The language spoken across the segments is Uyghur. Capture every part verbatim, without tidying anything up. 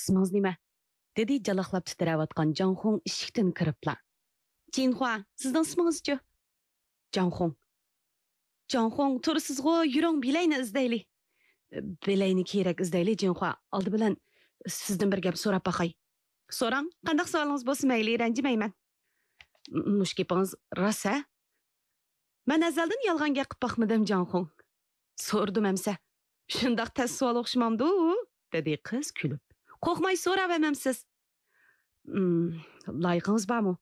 ئىسمىڭىز نېمە؟ دېدى جالاقلاپ تىترەۋاتقان جاڭخۇڭ ئىشىكتىن كىرىپلا. جىنخۇا، سىزنىڭ ئىسمىڭىزچۇ؟ جاڭخۇڭ. جاڭخۇڭ، تۇرىسىزغۇ، يۈرۈڭ، بىلەينى ئىزدەيلى. بىلەينى كېرەك ئىزدەيلى، جىنخۇا. ئالدى بىلەن سىزدىن بىر گەپ سوراپ باقاي. سوراڭ، قانداق سوئالىڭىز بولسا مەيلى، رەنجىمەيمەن. مۇشۇ گېپىڭىز راست ھە؟ مەن ئەزەلدىن يالغان گەپ قىلىپ باقمىدىم، جاڭخۇڭ. سورىدىم ئەمسە. شۇنداق تەس سوئال ئوخشىمامدۇ؟ دېدى قىز كۈلۈپ. قورقماي سوراۋەرمەمسىز؟ لايىقىڭىز بارمۇ؟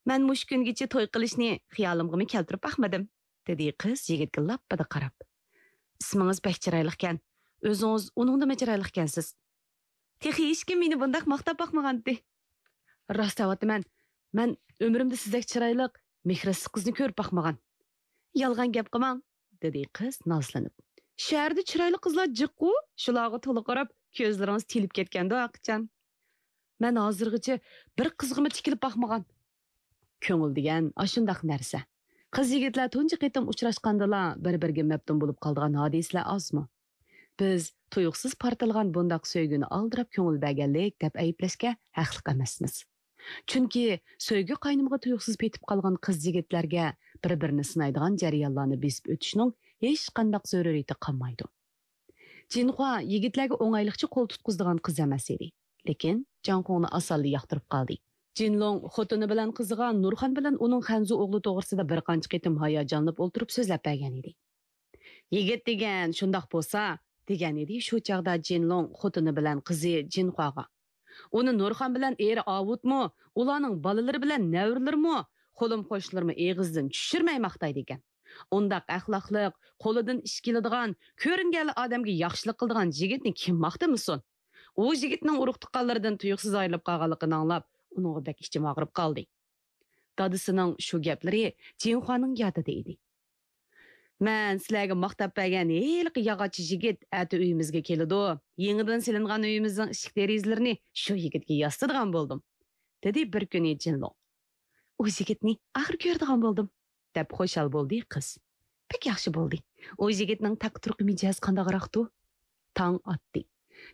مەن مۇشۇ كۈنگىچە توي قىلىشنى خىيالىمغىمۇ كەلتۈرۈپ باقمىدىم، دېدى قىز يىگىتكە لاپپىدە قاراپ. ئىسمىڭىز بەك چىرايلىقكەن. ئۆزىڭىز ئۇنىڭدىنمۇ چىرايلىقكەنسىز. تېخى ھېچكىم مېنى بۇنداق ماختاپ باقمىغانتى. راست دەۋاتىمەن، مەن ئۆمرۈمدە سىزدەك چىرايلىق، مېھرى ئىسسىق قىزنى كۆرۈپ باقمىغان. يالغان گەپ قىلماڭ، دېدى قىز نازلىنىپ. شەھەردە چىرايلىق قىزلار جىققۇ، شۇلارغا تولا قاراپ كۆزلىرىڭىز تېلىپ كەتكەندۇ ھەقىچان. مەن ھازىرغىچە بىر قىزغىمۇ تىكىلىپ باقمىغان. كۆڭۈل دېگەن ئاشۇنداق نەرسە. قىز يىگىتلەر تۇنجى قېتىم ئۇچراشقاندىلا بىر بىرىگە مەپتۇن بولۇپ قالىدىغان ھادىسىلەر ئازمۇ؟ بىز تۇيۇقسىز پارتلىغان بۇنداق سۆيگۈنى ئالدىراپ كۆڭۈل بەرگەنلىك دەپ ئەيىبلەشكە ھەقلىق ئەمەسمىز. چۈنكى سۆيگۈ قاينىمىغا تۇيۇقسىز پېتىپ قالغان قىز يىگىتلەرگە بىر بىرىنى سىنايدىغان جەريانلارنى بېسىپ ئۆتۈشنىڭ ھېچقانداق زۆرۈرىيىتى قالمايدۇ. جىنخۇا يىگىتلەرگە ئوڭايلىقچە قول تۇتقۇزىدىغان قىز ئەمەس ئىدى. لېكىن جاڭخۇڭنى ئاسانلا ياقتۇرۇپ قالدى. جىنلوڭ خوتۇنى بىلەن قىزىغا نۇرخان بىلەن ئۇنىڭ خەنزۇ ئوغلى توغرىسىدا بىر قانچە قېتىم ھاياجانلىنىپ ئولتۇرۇپ سۆزلەپ بەرگەن ئىدى. يىگىت دېگەن شۇنداق بولسا، دېگەن ئىدى شۇ چاغدا جىنلوڭ خوتۇنى بىلەن قىزى جىنخۇاغا. ئۇنى نۇرخان بىلەن ئېرى ئاۋۇتمۇ، ئۇلارنىڭ بالىلىرى بىلەن نەۋرىلىرىمۇ، قولۇم قوشنىلىرىمۇ ئېغىزدىن چۈشۈرمەي ماختايدىكەن. ئۇنداق ئەخلاقلىق، قولىدىن ئىش كېلىدىغان، كۆرۈنگەنلا ئادەمگە ياخشىلىق قىلىدىغان يىگىتنى كىم ماختىمىسۇن؟ ئۇ يىگىتنىڭ ئۇرۇق تۇغقانلىرىدىن تۇيۇقسىز ئايرىلىپ قالغانلىقىنى ئاڭلاپ، ئۇنىڭغا بەك ئىچىم ئاغرىپ قالدى. دادىسىنىڭ شۇ گەپلىرى جىنخۇانىڭ يادىدا ئىدى. مەن سىلەرگە ماختاپ بەرگەن ھېلىقى ياغاچچى يىگىت ئەتە ئۆيىمىزگە كېلىدۇ. يېڭىدىن سېلىنغان ئۆيىمىزنىڭ ئىشىك دېرىزىلىرىنى شۇ يىگىتكە ياسىتىدىغان بولدۇم، دېدى بىر كۈنى جىنلوڭ. ئۇ يىگىتنى ئاخىر كۆرىدىغان بولدۇم، دەپ خۇشال بولدى قىز. بەك ياخشى بولدى. ئۇ يىگىتنىڭ تەقى تۇرقى مىجەزى قانداقراقتۇ؟ تاڭ ئاتتى.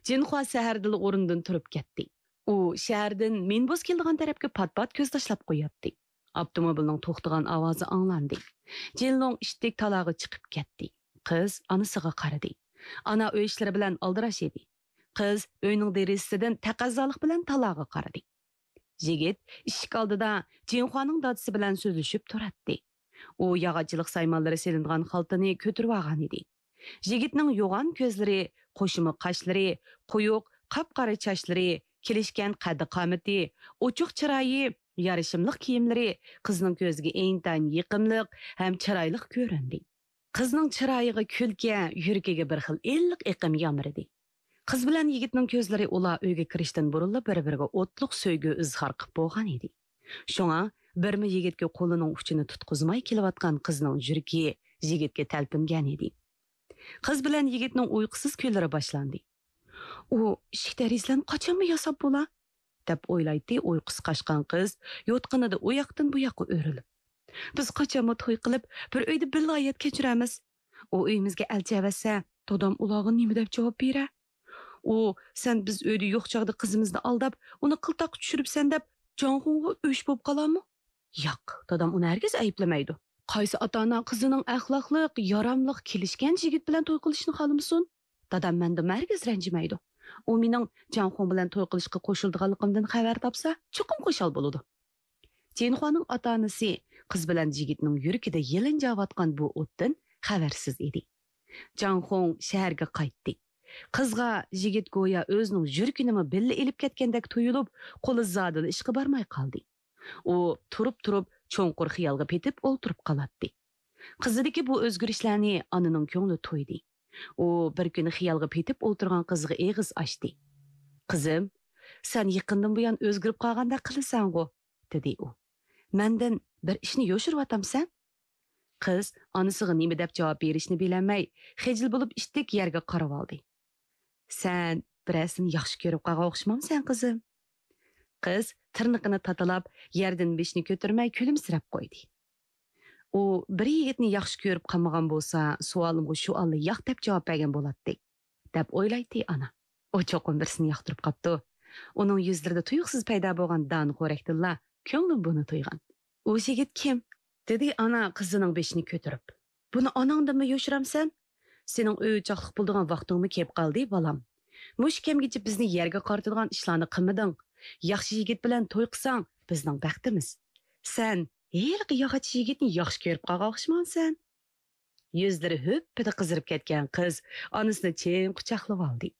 جىنخۇا سەھەردىلا ئورنىدىن تۇرۇپ كەتتى. ئۇ شەھەردىن مىنبۇس كېلىدىغان تەرەپكە پات-پات كۆز تاشلاپ قوياتتى. ئاپتوموبىلنىڭ توختىغان ئاۋازى ئاڭلاندى. جىنلوڭ ئىتتىك تالاغا چىقىپ كەتتى. قىز ئانىسىغا قارىدى. ئانا ئۆي ئىشلىرى بىلەن ئالدىراش ئىدى. قىز ئۆينىڭ دېرىزىسىدىن تەقەززالىق بىلەن تالاغا قارىدى. يىگىت ئىشىك ئالدىدا جىنخۇانىڭ دادىسى بىلەن سۆزلىشىپ تۇراتتى. ئۇ ياغاچچىلىق سايمانلىرى سېلىنغان خالتىنى كۆتۈرۈۋالغان ئىدى. يىگىتنىڭ يوغان كۆزلىرى، قوشۇما قاشلىرى، قويۇق، قاپقارا چاچلىرى، كېلىشكەن قەددى-قامىتى، ئوچۇق چىرايى، يارىشىملىق كىيىملىرى قىزنىڭ كۆزىگە ئىنتايىن يېقىملىق ھەم چىرايلىق كۆرۈندى. قىزنىڭ چىرايىغا كۈلكە، يۈرىكىگە بىر خىل ئىللىق ئېقىم يامرىدى. قىز بىلەن يىگىتنىڭ كۆزلىرى ئۇلار ئۆيگە كىرىشتىن بۇرۇنلا بىر-بىرىگە ئوتلۇق سۆيگۈ ئىزھار قىلىپ بولغان ئىدى. شۇڭا بىرمۇ يىگىتكە قولىنىڭ ئۇچىنى تۇتقۇزماي كېلىۋاتقان قىزنىڭ يۈرىكى يىگىتكە تەلپۈنگەن ئىدى. قىز بىلەن يىگىتنىڭ ئۇيقۇسىز كۈنلىرى باشلاندى. ئۇ ئىشىك دېرىزىلەرنى قاچانمۇ ياساپ بولا؟ دەپ ئويلايتتى ئۇيقۇسى قاچقان قىز يوتقىنىدا ئۇ ياقتىن بۇ ياققا ئۆرۈلۈپ. بىز قاچانمۇ توي قىلىپ، بىر ئۆيدە بىللە ھايات كەچۈرەرمىز. ئۇ ئۆيىمىزگە ئەلچى ئەۋەتسە، دادام ئۇلارغا نېمە دەپ جاۋاب بېرەر؟ ئۇ، سەن بىز ئۆيدە يوق چاغدا قىزىمىزنى ئالداپ، ئۇنى قىلتاققا چۈشۈرۈپسەن دەپ، جاڭخۇڭغا ئۆچ بولۇپ قالارمۇ؟ ياق، دادام ئۇنى ھەرگىز ئەيىبلىمەيدۇ. قايسى ئاتا-ئانا قىزىنىڭ ئەخلاقلىق، ياراملىق، كېلىشكەن يىگىت بىلەن توي قىلىشىنى خالىمىسۇن؟ دادام مەندىنمۇ ھەرگىز رەنجىمەيدۇ. ئۇ مېنىڭ جاڭخۇڭ بىلەن توي قىلىشقا قوشۇلىدىغانلىقىمدىن خەۋەر تاپسا، چوقۇم خۇشال بولىدۇ. جىنخۇانىڭ ئاتا-ئانىسى قىز بىلەن يىگىتنىڭ يۈرىكىدە يېلىنجاۋاتقان بۇ ئوتتىن خەۋەرسىز ئىدى. جاڭخۇڭ شەھەرگە قايتتى. قىزغا يىگىت گويا ئۆزىنىڭ يۈرىكىنىمۇ بىللە ئېلىپ كەتكەندەك تۇيۇلۇپ، قولى زادىلا ئىشقا بارماي قالدى. ئۇ تۇرۇپ-تۇرۇپ چوڭقۇر خىيالغا پېتىپ ئولتۇرۇپ قالاتتى. قىزىدىكى بۇ ئۆزگىرىشلەرنى ئانىنىڭ كۆڭلى تويدى. ئۇ بىر كۈنى خىيالغا پېتىپ ئولتۇرغان قىزىغا ئېغىز ئاچتى. «قىزىم، سەن يېقىندىن بۇيان ئۆزگىرىپ قالغاندەك قىلىسەنغۇ؟» دېدى ئۇ. «مەندىن بىر ئىشنى يوشۇرۇۋاتامسەن؟» قىز ئانىسىغا نېمە دەپ جاۋاب بېرىشنى بىلەلمەي، خىجىل بولۇپ ئىتتىك يەرگە قارىۋالدى. «سەن بىرەرسىنى ياخشى كۆرۈپ قالغان ئوخشىمامسەن، قىزىم؟» قىز تىرنىقىنى تاتىلاپ، يەردىن بېشىنى كۆتۈرمەي كۈلۈمسىرەپ قويدى. ئۇ بىر يىگىتنى ياخشى كۆرۈپ قالمىغان بولسا، سوئالىمغا شۇ ئاللا ياق دەپ جاۋاب بەرگەن بولاتتى، دەپ ئويلايتتى ئانا. ئۇ چوقۇم بىرسىنى ياقتۇرۇپ قاپتۇ. ئۇنىڭ يۈزلىرىدە تۇيۇقسىز پەيدا بولغان دان خورەكتىنلا كۆڭلۈم بۇنى تۇيغان. ئۇ يىگىت كىم؟ دېدى ئانا قىزىنىڭ بېشىنى كۆتۈرۈپ. بۇنى ئاناڭدىنمۇ يوشۇرامسەن؟ سېنىڭ ئۆي-ئوچاقلىق بولىدىغان ۋاقتىڭمۇ كېلىپ قالدى، بالام. مۇشۇ كەمگىچە بىزنى يەرگە قارىتىدىغان ئىشلارنى قىلمىدىڭ. ياخشى يىگىت بىلەن توي قىلساڭ، بىزنىڭ بەختىمىز. سەن ھېلىقى ياغاچ يىگىتنى ياخشى كۆرۈپ قالغان ئوخشىمامسەن؟ يۈزلىرى ھۈپپىدە قىزىرىپ كەتكەن قىز ئانىسىنى چىڭ قۇچاقلىۋالدى.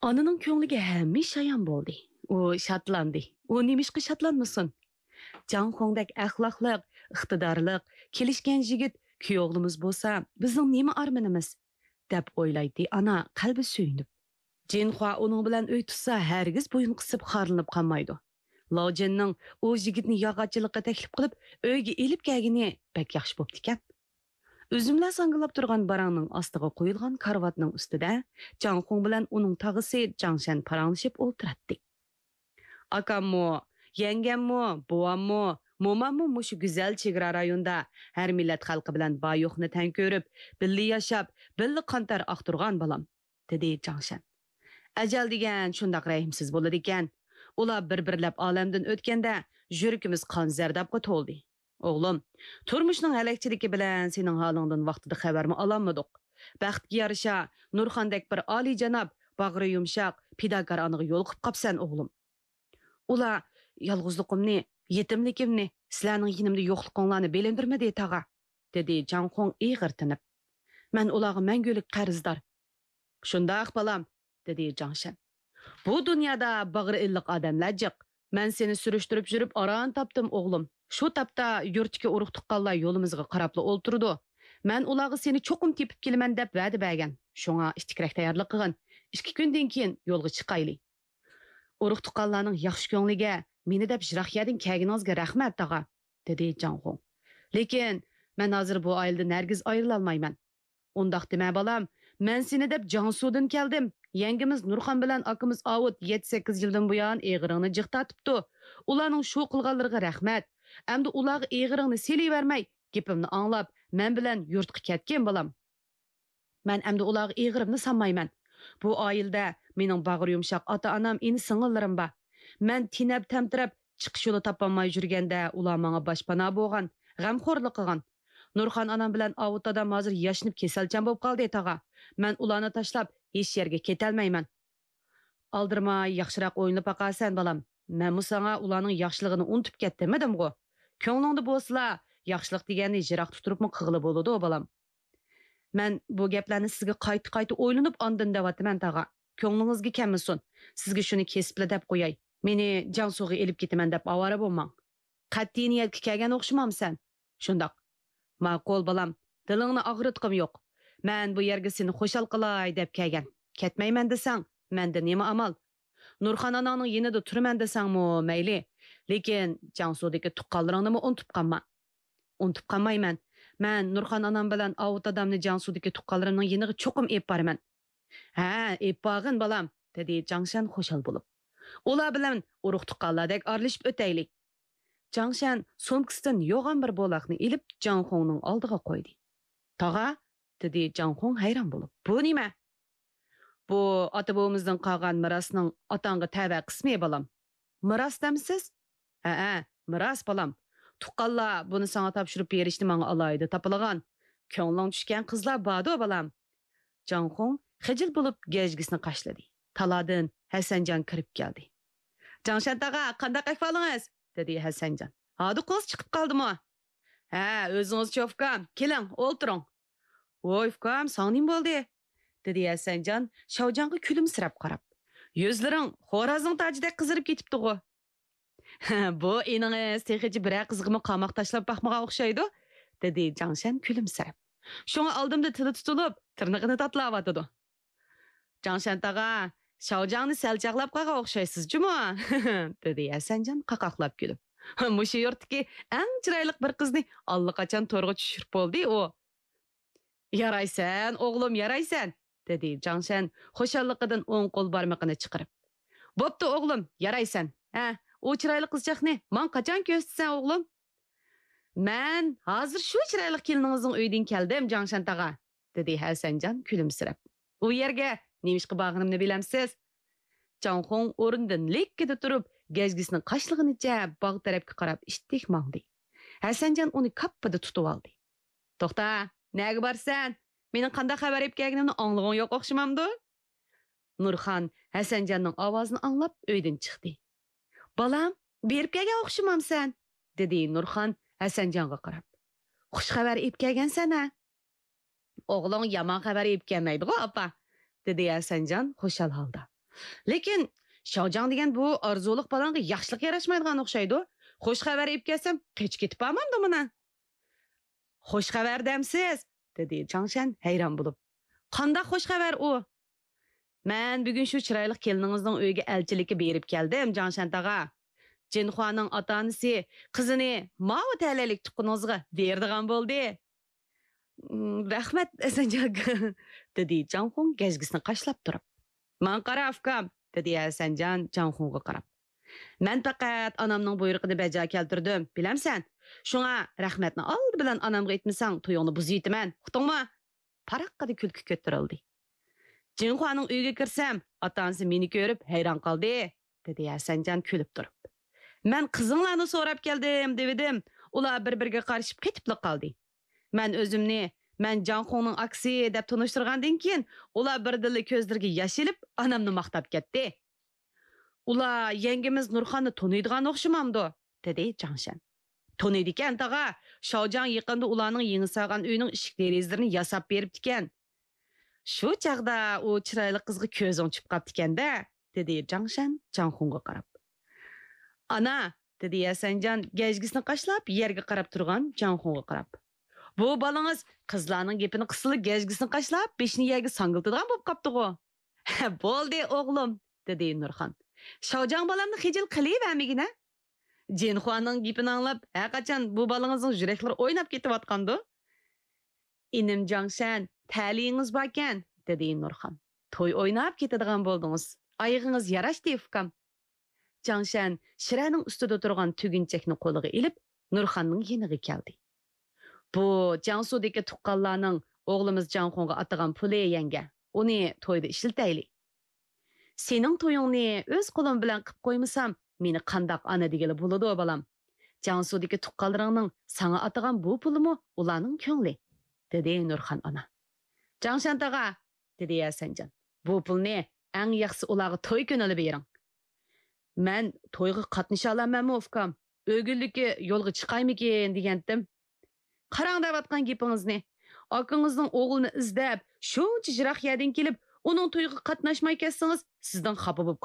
ئانىنىڭ كۆڭلىگە ھەممە ئىش ئايان بولدى. ئۇ شادلاندى. ئۇ نېمىشقا شادلانمىسۇن؟ جاڭ خوڭدەك ئەخلاقلىق، ئىقتىدارلىق، كېلىشكەن يىگىت كۈيئوغلىمىز بولسا، بىزنىڭ نېمە ئارمىنىمىز؟ دەپ ئويلايتتى ئانا قەلبى سۆيۈنۈپ. جىنخۇا ئۇنىڭ بىلەن ئۆي تۇتسا، ھەرگىز بويۇن قىسىپ خارلىنىپ قالمايدۇ. لاۋجىننىڭ ئۇ يىگىتنى ياغاچچىلىققا تەكلىپ قىلىپ، ئۆيگە ئېلىپ كەلگىنى بەك ياخشى بوپتىكەن. ئۈزۈملەر ساڭگىلاپ تۇرغان باراڭنىڭ ئاستىغا قويۇلغان كارىۋاتنىڭ ئۈستىدە جاڭ خوڭ بىلەن ئۇنىڭ تاغىسى جاڭشەن پاراڭلىشىپ ئولتۇراتتى. ئاكاممۇ، يەڭگەممۇ، بوۋاممۇ، موماممۇ مۇشۇ گۈزەل چېگرا رايوندا ھەر مىللەت خەلقى بىلەن بار-يوقنى تەڭ كۆرۈپ، بىللە ياشاپ، بىللە قان تەر ئاقتۇرغان بالام، دېدى جاڭشەن. ئەجەل دېگەن شۇنداق رەھىمسىز بولىدىكەن. ئۇلار بىر-بىرلەپ ئالەمدىن ئۆتكەندە، يۈرىكىمىز قان زەردابقا تولدى. ئوغلۇم، تۇرمۇشنىڭ ھەلەكچىلىكى بىلەن سېنىڭ ھالىڭدىن ۋاقتىدا خەۋەرمۇ ئالالمىدۇق. بەختكە يارىشا، نۇرخاندەك بىر ئالىيجاناب، باغرى يۇمشاق، پىداكار ئانىغا يولۇقۇپ قاپسەن، ئوغلۇم. ئۇلار يالغۇزلۇقۇمنى، يېتىملىكىمنى، سىلەرنىڭ يېنىمدا يوقلۇقۇڭلارنى بىلىندۈرمىدى، تاغا، دېدى جاڭ خوڭ ئېغىر تىنىپ. مەن ئۇلارغا مەڭگۈلۈك قەرزدار. شۇنداق، بالام، دېدى جاڭشەن. بۇ دۇنيادا باغرى ئىللىق ئادەملەر جىق. مەن سېنى سۈرۈشتۈرۈپ يۈرۈپ ئاران تاپتىم، ئوغلۇم. شۇ تاپتا يۇرتتىكى ئۇرۇق-تۇغقانلار يولىمىزغا قاراپلا ئولتۇرىدۇ. مەن ئۇلارغا سېنى چوقۇم تېپىپ كېلىمەن دەپ ۋەدە بەرگەن. شۇڭا ئىتتىكرەك تەييارلىق قىلغىن. ئىككى كۈندىن كېيىن يولغا چىقايلى. ئۇرۇق-تۇغقانلارنىڭ ياخشى كۆڭلىگە، مېنى دەپ يىراق يەردىن كەلگىنىڭىزگە رەھمەت، تاغا، دېدى جاڭ خوڭ. لېكىن مەن ھازىر بۇ ئائىلىدىن ھەرگىز ئايرىلالمايمەن. ئۇنداق دېمە، بالام. مەن سېنى دەپ جياڭسۇدىن كەلدىم. يەڭگىمىز نۇرخان بىلەن ئاكىمىز ئاۋۇت يەتتە-سەككىز يىلدىن بۇيان ئېغىرىڭنى جىق تارتىپتۇ. ئۇلارنىڭ شۇ قىلغانلىرىغا رەھمەت. ئەمدى ئۇلارغا ئېغىرىڭنى سېلىۋەرمەي، گېپىمنى ئاڭلاپ، مەن بىلەن يۇرتقا كەتكىن، بالام. مەن ئەمدى ئۇلارغا ئېغىرىمنى سالمايمەن. بۇ ئائىلىدە مېنىڭ باغرى يۇمشاق ئاتا-ئانام، ئىنى-سىڭىللىرىم بار. مەن تېنەپ-تەمتىرەپ، چىقىش يولى تاپالماي يۈرگەندە، ئۇلار ماڭا باشپانا بولغان، غەمخورلۇق قىلغان. نۇرخان ئانام بىلەن ئاۋۇت دادام ھازىر ياشىنىپ كېسەلچان بولۇپ قالدى، تاغا. مەن ئۇلارنى تاشلاپ ھېچ يەرگە كېتەلمەيمەن. ئالدىرىماي ياخشىراق ئويلىنىپ باقارسەن، بالام. مەنمۇ ساڭا ئۇلارنىڭ ياخشىلىقىنى ئۇنتۇپ كەت دېمىدىمغۇ؟ كۆڭلۈڭدە بولسىلا، ياخشىلىق دېگەننى يىراقتا تۇرۇپمۇ قىلغىلى بولىدۇ، بالام. مەن بۇ گەپلەرنى سىزگە قايتا-قايتا ئويلىنىپ ئاندىن دەۋاتىمەن، تاغا. كۆڭلىڭىزگە كەلمىسۇن. سىزگە شۇنى كېسىپلا دەپ قوياي. مېنى جياڭسۇغا ئېلىپ كېتىمەن دەپ ئاۋارە بولماڭ. قەتئىي نىيەتكە كەلگەن ئوخشىمامسەن؟ شۇنداق. ماقۇل، بالام. دىلىڭنى ئاغرىتقۇم يوق. مەن بۇ يەرگە سېنى خۇشال قىلاي دەپ كەلگەن. كەتمەيمەن دېسەڭ، مەندە نېمە ئامال؟ نۇرخان ئاناڭنىڭ يېنىدا تۇرىمەن دېسەڭمۇ مەيلى. لېكىن جياڭسۇدىكى تۇغقانلىرىڭنىمۇ ئۇنتۇپ قالما. ئۇنتۇپ قالمايمەن. مەن نۇرخان ئانام بىلەن ئاۋۇت دادامنى جياڭسۇدىكى تۇغقانلىرىمنىڭ يېنىغا چوقۇم ئېلىپ بارىمەن. ھە، ئېلىپ بارغىن، بالام، دېدى جاڭشەن خۇشال بولۇپ. ئۇلار بىلەن ئۇرۇق-تۇغقانلاردەك ئارىلىشىپ ئۆتەيلى. جاڭشەن سومكىسىدىن يوغان بىر بولاقنى ئېلىپ جاڭ خوڭنىڭ ئالدىغا قويدى. تاغا، دېدى جاڭ خوڭ ھەيران بولۇپ. بۇ نېمە؟ بۇ ئاتا-بوۋىمىزدىن قالغان مىراسنىڭ ئاتاڭغا تەۋە قىسمى، بالام. مىراس دەمسىز؟ ھەئە، مىراس، بالام. تۇغقانلار بۇنى ساڭا تاپشۇرۇپ بېرىشنى ماڭا ئالاھىدە تاپىلىغان. كۆڭلۈڭ چۈشكەن قىزلار باردۇ، بالام. جاڭ خوڭ خىجىل بولۇپ گەجگىسىنى قاشلىدى. تالادىن ھەسەنجان كىرىپ كەلدى. جاڭشەن تاغا، قانداق ئەھۋالىڭىز؟ دېدى ھەسەنجان. ھادىقىڭىز چىقىپ قالدىمۇ؟ ھە، ئۆزىڭىزچۇ ئۇكام، كېلىڭ، ئولتۇرۇڭ. ۋوي ئۇكام، ساڭا نېمە بولدى؟ دېدى ھەسەنجان شاۋجاڭغا كۈلۈمسىرەپ قاراپ. يۈزلىرىڭ خورازنىڭ تاجىدەك قىزىرىپ كېتىپتىغۇ. بۇ ئىنىڭىز تېخىچە بىرەر قىزغىمۇ قاماق تاشلاپ باقمىغان ئوخشايدۇ، دېدى جاڭشەن كۈلۈمسىرەپ. شۇڭا ئالدىمدا تىلى تۇتۇلۇپ، تىرنىقىنى تاتىلاۋاتىدۇ. جاڭشەن تاغا، شاۋجاڭنى سەل چاغلاپ قالغان ئوخشايسىز جۇمۇ، دېدى ھەسەنجان قاقاقلاپ كۈلۈپ. مۇشۇ يۇرتتىكى ئەڭ چىرايلىق بىر قىزنى ئاللىقاچان تورغا چۈشۈرۈپ بولدى ئۇ. يارايسەن، ئوغلۇم، يارايسەن، دېدى جاڭشەن خۇشاللىقىدىن ئوڭ قول بارمىقىنى چىقىرىپ. بوپتۇ، ئوغلۇم، يارايسەن. ھە، ئۇ چىرايلىق قىزچاقنى ماڭا قاچان كۆرسىتىسەن، ئوغلۇم؟ مەن ھازىر شۇ چىرايلىق كېلىنىڭىزنىڭ ئۆيىدىن كەلدىم، جاڭشەن تاغا، دېدى ھەسەنجان كۈلۈمسىرەپ. ئۇ يەرگە نېمىشقا بارغىنىمنى بىلەمسىز؟ جاڭخۇڭ ئورنىدىن لىككىدە تۇرۇپ، گەجگىسىنى قاشلىغىنىچە باغ تەرەپكە قاراپ ئىتتىك ماڭدى. ھەسەنجان ئۇنى كاپپىدە تۇتۇۋالدى. توختا، نەگە بارىسەن؟ مېنىڭ قانداق خەۋەر ئېلىپ كەلگىنىمنى ئاڭلىغۇڭ يوق ئوخشىمامدۇ؟ نۇرخان ھەسەنجاننىڭ ئاۋازىنى ئاڭلاپ ئۆيدىن چىقتى. بالام، بېرىپ كەلگەن ئوخشىمامسەن؟ دېدى نۇرخان ھەسەنجانغا قاراپ. خۇش خەۋەر ئېلىپ كەلگەنسەن ھە؟ ئوغلۇڭ يامان خەۋەر ئېلىپ كەلمەيدىغۇ، ئاپا، دېدى ھەسەنجان خۇشال ھالدا. لېكىن شاۋجاڭ دېگەن بۇ ئارزۇلۇق بالاڭغا ياخشىلىق ياراشمايدىغان ئوخشايدۇ. خۇش خەۋەر ئېلىپ كەلسەم، قېچىپ كېتىپ بارمامدۇ مانا؟ خۇش خەۋەر دەمسىز؟ دېدى جاڭشەن ھەيران بولۇپ. قانداق خۇش خەۋەر ئۇ؟ مەن بۈگۈن شۇ چىرايلىق كېلىنىڭىزنىڭ ئۆيىگە ئەلچىلىككە بېرىپ كەلدىم، جاڭشەن تاغا. جىنخۇانىڭ ئاتا-ئانىسى قىزىنى ماۋۇ تەلەيلىك تۇغقىنىڭىزغا بېرىدىغان بولدى. «م، رەھمەت، ھەسەنجان ئاكا»، دېدى جاڭخۇڭ گەجگىسىنى قاشلاپ تۇرۇپ. «ماڭا قارا، ئۇكام»، دېدى ھەسەنجان جاڭخۇڭغا قاراپ. «مەن پەقەت ئانامنىڭ بۇيرۇقىنى بەجا كەلتۈردۈم، بىلەمسەن؟ شۇڭا رەھمەتنى ئالدى بىلەن ئانامغا ئېيتمىساڭ، تويۇڭنى بۇزۇۋېتىمەن، ئۇقتۇڭمۇ؟ پاراققىدە كۈلكە كۆتۈرۈلدى. جىنخۇانىڭ ئۆيىگە كىرسەم، ئاتا-ئانىسى مېنى كۆرۈپ ھەيران قالدى، دېدى ھەسەنجان كۈلۈپ تۇرۇپ. مەن قىزىڭلارنى سوراپ كەلدىم دېۋىدىم، ئۇلار بىر-بىرىگە قارىشىپ قېتىپلا قالدى. مەن ئۆزۈمنى، مەن جاڭخۇڭنىڭ ئاكىسى دەپ تونۇشتۇرغاندىن كېيىن، ئۇلار بىردىنلا كۆزلىرىگە ياش ئېلىپ، ئانامنى ماختاپ كەتتى. ئۇلار يەڭگىمىز نۇرخاننى تونۇيدىغان ئوخشىمامدۇ؟ دېدى جاڭشەن. تونۇيدىكەن، تاغا. شاۋجاڭ يېقىندا ئۇلارنىڭ يېڭى سالغان ئۆيىنىڭ ئىشىك دېرىزىلىرىنى ياساپ بېرىپتىكەن. شۇ چاغدا ئۇ چىرايلىق قىزغا كۆزۈڭ چۈشۈپ قاپتىكەن-دە، دېدى جاڭشەن جاڭخۇڭغا قاراپ. ئانا، دېدى ھەسەنجان گەجگىسىنى قاشلاپ يەرگە قاراپ تۇرغان جاڭخۇڭغا قاراپ. بۇ بالىڭىز قىزلارنىڭ گېپىنى قىلسىلا گەجگىسىنى قاشلاپ بېشىنى يەرگە ساڭگىلىتىدىغان بولۇپ قاپتىغۇ. بولدى ئوغلۇم، دېدى نۇرخان. شاۋجاڭ بالامنى خىجىل قىلىۋەرمىگىنە. جىنخۇانىڭ گېپىنى ئاڭلاپ، ھەرقاچان بۇ بالىڭىزنىڭ يۈرەكلىرى ئويناپ كېتىۋاتقاندۇ؟ ئىنىم جاڭشەن، تەلىيىڭىز باركەن، دېدى نۇرخان. توي ئويناپ كېتىدىغان بولدىڭىز. ئايىغىڭىز ياراشتى، ئۇكام. جاڭشەن شىرەنىڭ ئۈستىدە تۇرغان تۈگۈنچەكنى قولىغا ئېلىپ، نۇرخاننىڭ يېنىغا كەلدى. بۇ جياڭسۇدىكى تۇغقانلارنىڭ ئوغلىمىز جاڭخۇڭغا ئاتىغان پۇلى، يەڭگە. ئۇنى تويدا ئىشلىتەيلى. سېنىڭ تويۇڭنى ئۆز قولۇم بىلەن قىپ قويمىسام، مېنى قانداق ئانا دېگىلى بولىدۇ، بالام؟ جياڭسۇدىكى تۇغقانلىرىڭنىڭ ساڭا ئاتىغان بۇ پۇلىمۇ ئۇلارنىڭ كۆڭلى، دېدى نۇرخان ئانا. جاڭشەن تاغا، دېدى ھەسەنجان، بۇ پۇلنى ئەڭ ياخشىسى ئۇلارغا توي كۈنىلا بېرىڭ. مەن تويغا قاتنىشالامەنمۇ، ئۇكام؟ ئۆگۈنلۈككە يولغا چىقايمىكىن دېگەنتىم. قاراڭ دەۋاتقان گېپىڭىزنى. ئاكىڭىزنىڭ ئوغلىنى ئىزدەپ، شۇنچە يىراق يەردىن كېلىپ، ئۇنىڭ تويىغا قاتناشماي كەتسىڭىز، سىزدىن خاپا بولۇپ